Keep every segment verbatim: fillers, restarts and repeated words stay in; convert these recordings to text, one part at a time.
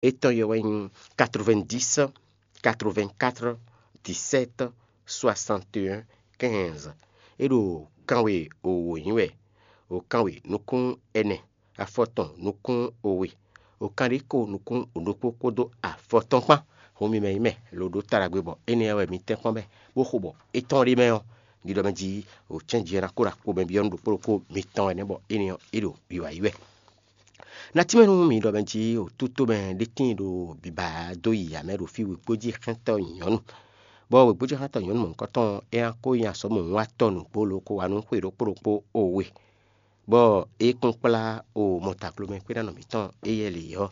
Étɔn yɔ wɛ nyí quatre-vingt-dix, quatre-vingt-quatre, dix-sept, soixante et un, quinze. É ɖo kanwe wǒ nyí wɛ, wǒ kanwe nukún ɛnɛ, afɔtɔn nukún we, wǒ kanɖé ko nukún ɖokpó kpódó afɔtɔn kpán. Hun mi mɛ nyí mɛ lo ɖó ta ɖagbe bɔ énɛ́ wɛ mi tɛ́nkpɔ́n bɛ́ bó xo bɔ étɔn ɖé mɛ ɔ́, ɖiɖɔ mɛ jí wǒ cɛ́n jí ɔ́ ná kó ɖo akpo mɛ byɔ́ nú ɖokpó ɖokpó mitɔn ɛnɛ́ bɔ énɛ́ ɔ́ é ɖo wiwa yí wɛ. Natí mɛ nú mi ɖɔ mɛ jí wǒtútúmɛ ɖé tíin ɖo biba dó yi amɛ ɖo fí wěgbójíxɛ́ntɔ́ nyɔ̌nu, bɔ wěgbójíxɛ́ntɔ́ nyɔ̌nu mɔ̌hunkɔtɔn ɔ́, é ná kó nyi azɔ̌ mɔ̌hunkɔtɔn nǔgbó lobo ko wa nú xwe ɖokpó ɖokpó we, bɔ é kún kplá o mɔtaklomɛ xwéɖánɔ mǐtɔn éyɛ́ lě ɔ́,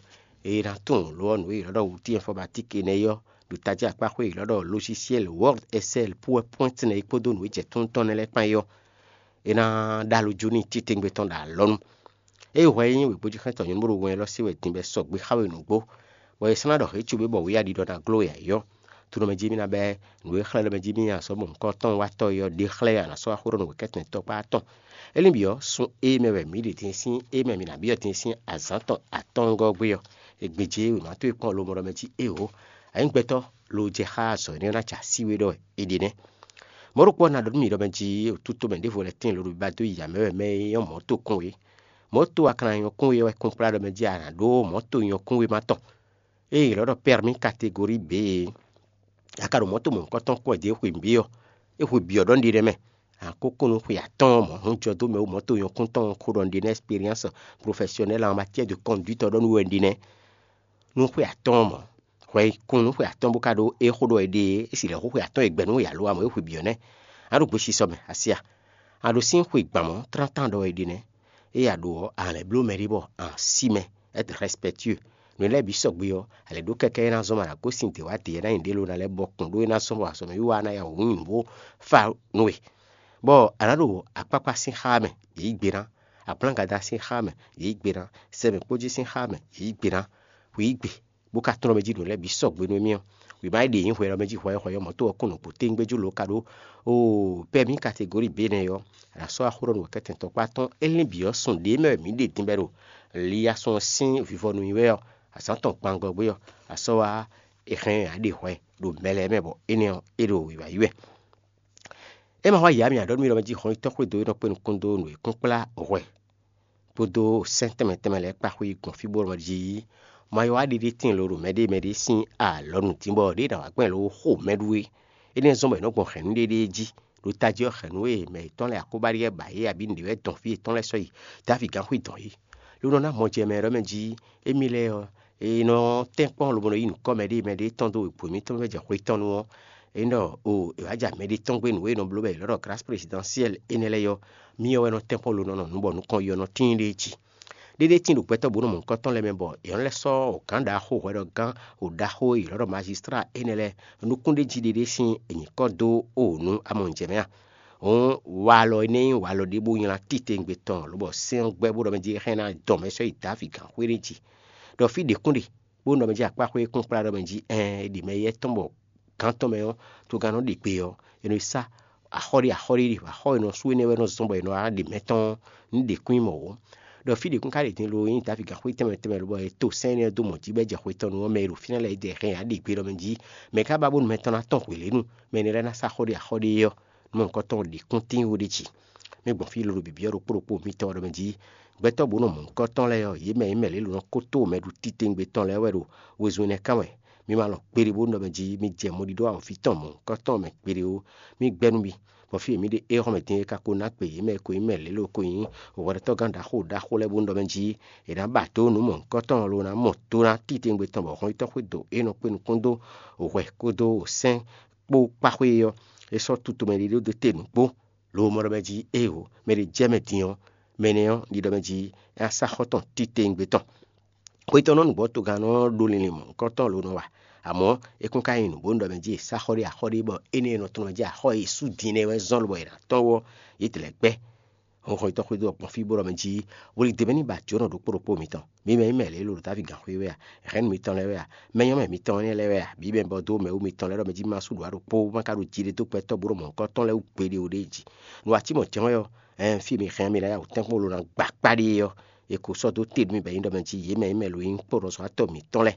é ná tunwun lǒ ɔ́ nǔ e è ylɔ́ ɖɔ wuti ɛnfɔmatík énɛ́ ɔ́ ɖo tají akpá xwé e è ylɔ́ ɖɔ logiciel Word, Excel, PowerPoint nɛ́ é kpódó nǔ e jɛ tún tɔn nɛ́ lɛ́ɛ kpán é ɔ́, é ná ɖó alɔ jó n'i titewungbe tɔn ɖo alɔnu. Ée hwɛ e nyí wěgbójíxɛ́ntɔ́ nyɔ̌nu bó ɖo wɛn élɔ́ se wɛ din bɔ é sɔgbe xá we nǔgbó, bɔ è slán ɖɔ hě cóbé bɔ wǐ aɖi ɖɔ ná gló wɛ ǎ é ɔ́, tunɔ mɛ jí mì ná bɛ́ nǔ e xlɛ́ ɖɔ mɛ jí mì nyi azɔ̌ mɔ̌hunkɔtɔn watɔ́ é ɔ́ ɖe xlɛ́ anǎ sɔ́ wá xó ɖɔ nǔ wɛ kɛ́tɛn tɔkpá atɔn. É lín bǐ ɔ́, sun e mɛ wɛ mǐ ɖe din sín e mɛ mǐ ná byɔ́ din sín azǎn tɔn atɔ́ɔ́ngɔ́ ɔ́ gbé ɔ́, è gbějé wěma towe kpɔ́n lomɔɖɔ mɛ jí éeǒ, a nyǐ gbɛtɔ́ lo jɛ xá azɔ̌ énɛ́ ɔ́ ná jɛ así we ɖɔ wɛ è ɖe nɛ́. Mɔ̌ ɖokpó ɔ́ ná ɖɔ nú mì ɖɔ mɛ jí wǒtútú mɛ ɖěvo lɛ́ɛ tíin loɖo bíbá dó yi amɛ wɛ mɛ e nyɔ́ mɔ̌ tokún é. Mɔ̌ to aklan nyɔ́kún é wɛ kún kplá ɖɔ mɛ jí a nǎ ɖó mɔ̌ to nyɔ́kún wéma tɔn, ée è ylɔ́ ɖɔ pɛ́rmí kategori B é. A ka ɖo mɔ̌ to mɔ̌hunkɔtɔn kún wɛ dě xwe bǐ ɔ́, é xwe bǐ ɔ́ ɖɔ nɖi ɖɛ mɛ. A kó kún nú xwe atɔ́ɔ́n mɔ̌ hún jɔ dó mɛ wú mɔ̌ to nyɔ́kún tɔn xo ɖɔ nɖi nɛ́, expérience professionnelle en matière de conduite ɔ́ ɖɔ nú wɛ nɖi nɛ́. Nú xwe atɔ́ɔ́n mɔ̌, hwɛ yi kún nú xwe atɔ́ɔ́n bó ka ɖó é xó ɖɔ è ɖe é, é si lɛ̌ xó xwe atɔ́ɔ́n è gbɛ nú yǎ lo amɔ̌ é xwe bǐ ɔ́ nɛ́. A ɖo gbesisɔ mɛ, a si a? A ɖo sín xwe gban mɔ̌, tlántlán ɖɔ è ɖe nɛ́. Ée a ɖo ɔ́, a lɛ̌ bló mɛɖé bɔ a sí mɛ, être respectueux. Nǔ lɛ́ɛ bǐ sɔgbe ɔ́, a lɛ̌ ɖó kɛ́kɛ́ é ná zɔ́n mɛ ɖo agǒsin dě wá dě ɔ́ ná nyi ɖě lo ná lɛ́ bɔ kún ɖó é ná zɔ́n bɔ azɔ̌ mɛ wiwa ná ya wǔ nyi nǔ bó fá nú we. Bɔ a nǎ ɖo akpákpá sín xá mɛ, yě yí gbe ná. Aplángadá sín xá mɛ, yě yí gbe ná. Sɛmɛkpójí sín xá mɛ, yě yí gbe ná. Hwi yí gbe, bó ka tlɔ́n mɛ jí nǔ lɛ́ɛ bǐ sɔgbe nú émí ɔ́, wǐ má yi ɖe nyǐ hwɛ ɔ́ mɛ jí hwɛhwɛ ɔ́, mɔ̌ to ɔ́ kún nǔgbó téŋgbé jú lo ka ɖó. Oo, pɛ́ mǐ kategóri bǐ énɛ́ ɔ́, a nǎ sɔ́ axó ɖɔ nú wɛ̌kɛ́tɛn tɔkpá tɔn é lín bǐ ɔ́ sun ɖě mɛ wɛ mǐ ɖe din bɔ é ɖo. Liya sun ɔ́ sín vivɔnu nyi wɛ ɔ́, azǎn tɔn gbangɔ gbé ɔ́, a sɔ́ wá è hɛn ǎ ɖe hwɛ ɖo mɛ lɛ́ɛ mɛ bɔ énɛ́ ɔ́, é ɖo wǐwá yí wɛ. É ma xɔ yǎ mì aɖɔ̌ nú mì ɖɔ mɛ jí hɔn yi tɔ́ xwédo e nɔ kpé nukún dó nǔ e kún kplá hwɛ kpódó sɛ́n tɛnmɛ tɛnmɛ lɛ́ɛ kpá xwé yi gbɔn fí bó nɔ jí ma yɔ wá ɖiɖe tíin lo ɖo mɛɖée mɛɖée sín alɔnu dín bɔ ɖěe ɖa wǎ gbɛn lo xo mɛ ɖu é. Énɛ́ zɔ́n bɔ è nɔ́ gbɔn hɛ̌nnu ɖéɖée jí, ɖo tají ɔ́ hɛ̌nnu e mɛ yětɔn lɛ́ɛ Akóbáɖíɛ ba yě abǐ nǔɖé wɛ dɔn fí yětɔn lɛ́ɛ sɔ́ yi Davi gǎnxwí dɔn yí. Ló nɔ ná mɔ jɛ mɛ ɖɔ mɛ jí émí lɛ́ɛ ɔ́, è nɔ tɛ́nkpɔ́n lobo nɔ yí nǔkɔ mɛɖée mɛɖée tɔn dó wěgbó émítɔn mɛ jɛ xwe tɔn nu ɔ́, é nɔ o è wǎ ja mɛɖée tɔn gbé nǔ e è nɔ bló bɔ è ylɔ́ ɖɔ Grâce Présidentielle énɛ́ lɛ́ɛ ɔ́, myɔ wɛ nɔ tɛ́nkpɔ́n lo nɔ nɔ nǔ bɔ nukɔn yi ɔ́ nɔ tíin ɖéé jí. Ɖéɖé tíin ɖo gbɛtɔ́ bǒ nɔ mɔ̌hunkɔtɔn lɛ́ɛ mɛ bɔ è nɔ lɛ́ sɔ́ gǎn ɖaxó hwɛɖɔgán ɖaxó e è ylɔ́ ɖɔ mazíslá énɛ́ lɛ́ɛ nukún ɖé jí ɖéɖé sín nyǐkɔ dó o nú amɔnjɛ mɛ a? Hǔn walɔ énɛ́ nyí walɔ ɖé bó nylá titewungbe tɔn lobɔ sɛ́n ɔ́ gbɛ́ bó ɖɔ mɛ jí é hɛn ná dɔn mɛ sɔ́ yi Davi gǎnxwé ɖé jí. Ɖɔ fí ɖě kún ɖe, bó nɔ mɛ jí akpáxwé kún kplá ɖɔ mɛ jí ɛɛn è ɖi mɛ éyɛ́ tɔn bɔ gǎn tɔn mɛ ɔ́, togán nɔ ɖe gbe ɔ́, è nɔ yi sá axɔ́ ɖé axɔ́ ɖé ɖe, axɔ́ e nɔ sú énɛ́ wɛ nɔ zɔ́n bɔ è nɔ wá ɖe mɛ tɔn ní ɖe kún nyí mɔ̌ ó. Ɖɔ fí ɖě kún ka ɖe din lo nyí Davi gǎnxwé tɛnmɛ tɛnmɛ lobɔ è to sɛ́n énɛ́ dó mɔ̌ jí bɔ é jɛ xwe tɔn nu ɔ́, mɛ e ɖo fínɛ́ lɛ́ɛ é jɛ hɛn yǎ ɖe gbe ɖɔ mɛ jí, mɛ ka ba bónú mɛ tɔn ná tɔn hwelěnu, mɛ énɛ́ lɛ́ɛ ná sá xɔ ɖé axɔ́ ɖé ɔ́, nú mɔ̌hunkɔtɔn ɖě kún tíin wú ɖ'é jí. Mì gbɔn fí lolo bǐbí ɔ́ ɖokpó ɖokpó mitɔn ɔ́ ɖɔ mɛ jí, gbɛtɔ́ bǒ nɔ mɔ̌hunkɔtɔn lɛ́ɛ ɔ́, yě mɛ e nyí mɛ lě lǒ nɔ kó tó mɛ ɖo titewungbe tɔn lɛ́ɛ wɛ ɖo wezun énɛ́ kán wɛ. Mi ma lɔn kpeɖé bó nɔ mɛ jí mi jɛ mɔɖíɖó awɔ̌vi tɔn mɔ̌hunkɔtɔn ɔ́ mɛ kpeɖé ó. Mì gbɛ́ nú mi, bɔ fí e mǐ ɖe éhɔ́mɛ din é ka ko ná gbe yě mɛ e ko nyí mɛ lě lo ko nyí hwɛɖɔtɔ́gán ɖaxó ɖaxó lɛ́ɛ bó nɔ mɛ jí è nǎ ba dó nǔ mɔ̌hunkɔtɔn lo ná mɔ tó ná titewungbe tɔn bɔ hɔn yi tɔ́ xwé dǒ é nɔ kpé nukún dó hwɛ kpódó sɛ́n kpó kpáxwé ɔ́, é sɔ́ tutomɛ ɖé ɖó dó te nǔgbó. Lo mɔ ɖɔ mɛ jí éeǒ, mɛ ɖé jɛ mɛ din ɔ́, mɛ énɛ́ ɔ́, ɖiɖɔ mɛ jí é ná sá xɔ tɔn titewungbe tɔn. Xwetɔ́nnɔ nǔgbɔ́togán nɔ ɖó linlin mɔ̌hunkɔtɔn lo nɔ wa. Amɔ̌ é kún ka nyí nǔgbó nú ɖɔ mɛ jí è sá xɔ ɖé axɔ́ ɖé bɔ énɛ́ e nɔ tɔn mɛ jí axɔ́ e è sú din nɛ́ wɛ zɔ́n lobɔ è nǎ tɔ́n ɔ́, yě tlɛ gbɛ́. Hɔnxɔn tɔn xwedó ɔ́ gbɔn fí bó ɖɔ mɛ jí, hwlidě mɛ ní ba jǒnɔ ɖokpó ɖokpó mitɔn. Mi mɛ nyí mɛ lě lo ɖo Davi gǎnxwé wɛ a? Hɛ̌nnu mitɔn lɛ́ɛ wɛ a? Mɛ nyɔ́mɛ mitɔn énɛ́ lɛ́ɛ wɛ a? Bǐ mɛ bɔ dó mɛwú mitɔn lɛ́ɛ ɖɔ mɛ jí ma sú ɖǒ ɖokpó, bó ma ka ɖo jiɖe dó gbɛtɔ́ bó ɖo mɔ̌hunkɔtɔn lɛ́ɛ wú gbeɖé ó ɖ'é jí. Nǔ atímɔ̌ jɛ́n wɛ ɔ́, ɛɛn fí e mi hɛn mi ná ya wǔ tɛ́nkpɔ́n lo ná gba kpá ɖe é ɔ́, è ko sɔ́ dó te nú mì bɔ é nyí ɖɔ mɛ jí yě mɛ nyí mɛ lǒ nyí kpóɖɔzɔ́watɔ́ mǐtɔn lɛ́ɛ.